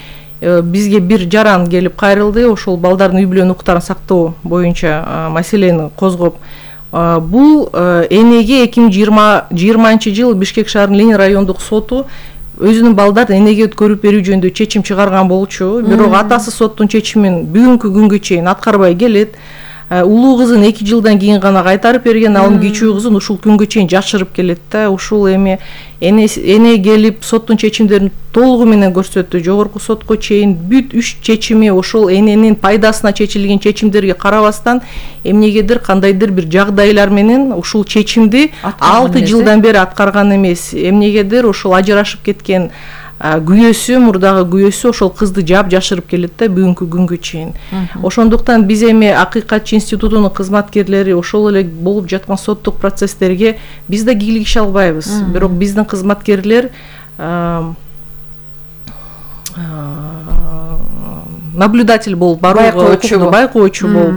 Бизге бир жаран келип кайрылды, ошол балдардын үй бүлөнүн укуктарын сактоо боюнча маселени козгоп. Бул энеге 2020-жыл Бишкек шаарынын Ленин райондук соту өзүнүн балдарын энеге өткөрүп берүү жөнүндө чечим чыгарган болчу. Бирок атасы соттун чечимин бүгүнкү күнгө чейин аткарбай келет. Улуу кызын 2 жылдан кийин гана кайтарып берген, ал кичүү кызын ушул күнгө чейин жашырып келет да. Ушул эми эне келип соттун чечимдерин толугу менен көрсөттү. Жогорку сотко чейин бүт 3 чечими ошол эненин пайдасына чечилген чечимдерге карабастан эмнегедир кандайдыр бир жагдайлар менен ушул чечимди 6 жылдан бери аткарган эмес. Эмнегедир ошол ажырашып кеткен күйөөсү, мурдагы күйөөсү ошол кызды жашырып келет да бүгүнкү күнгө чейин. Ошондуктан биз эми Акыйкатчы институтунун кызматкерлери ошол эле болуп жаткан соттук процесстерге биз да кийлигише албайбыз. Бирок биздин кызматкерлер наблюдатель болуп барууга, байкоочу болуп,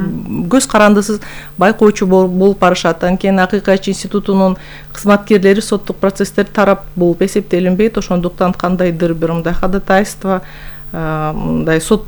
көз карандысыз байкоочу болуп барышат. Анткени Акыйкатчы институтунун кызматкерлери соттук процесстер тарап болуп эсептелинбейт. Ошондуктан кандайдыр бир мындай ходатайство, мындай сот